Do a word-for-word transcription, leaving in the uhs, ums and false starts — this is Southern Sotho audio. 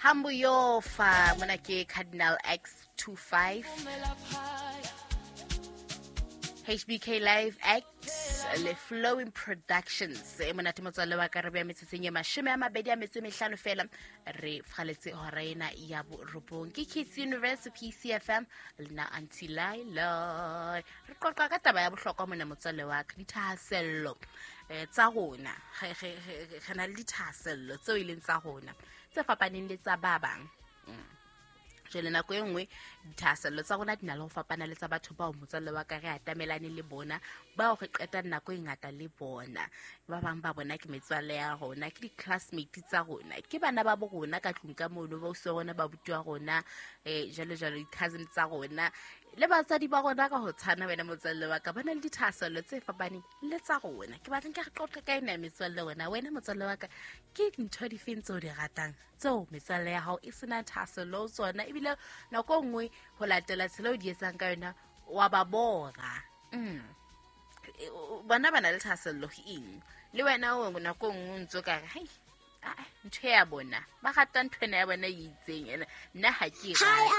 Hambuyofa mona ke Cardinal X twenty-five, H B K Live Act le Flowing Productions. E monate, motswalle wa ka. Re beya metsotsong e mashome a mabedi a metso e mehlano fela re faletse hora ena ya borobong. Ke Kids Universe, P C F M, le nna Aunty Laila. Re qoqa ka taba ya bohlokwa mona, motswalle wa ka, dithahasello um tsa rona. Re re- re- re na le dithahasello tseo e leng tsa rona tse fapaneng le tsa ba bang. Jwale nako e nngwe dithahasello tsa rona di na le ho fapana le tsa batho bao, motswalle wa ka, re atamelane le bona, bao re qetang nako e ngata le bona. Ba bang ba bona ke metswalle ya rona, ke di-classmate tsa rona, ke bana ba bo rona ka tlung ka mono, ba usi wa rona, ba buti wa rona, um jalo jalo, di-cousin tsa rona le batswadi ba rona ka ho tshwana. Wena motswalle wa ka, ba na le dithahasello tse fapaneng le tsa rona. Ke batlang ke re qoqe ka ena ya metswalle wena. Wena motswalle wa ka, ke dintho difeng tseo di ratang tseo metswalle ya hao e sena thahasello ho tsona, ebile nako e nngwe ho latela tsela o di etsang ka yona wa ba bora? mm. E, o- bona ba na le thahasello ho eng, le wena o nako e nngwe o ntso ka re, "Hai, ah, ntho ya bona, ba rata ntho ena ya bona e itseng, ena nna ha ke e Hi, rate."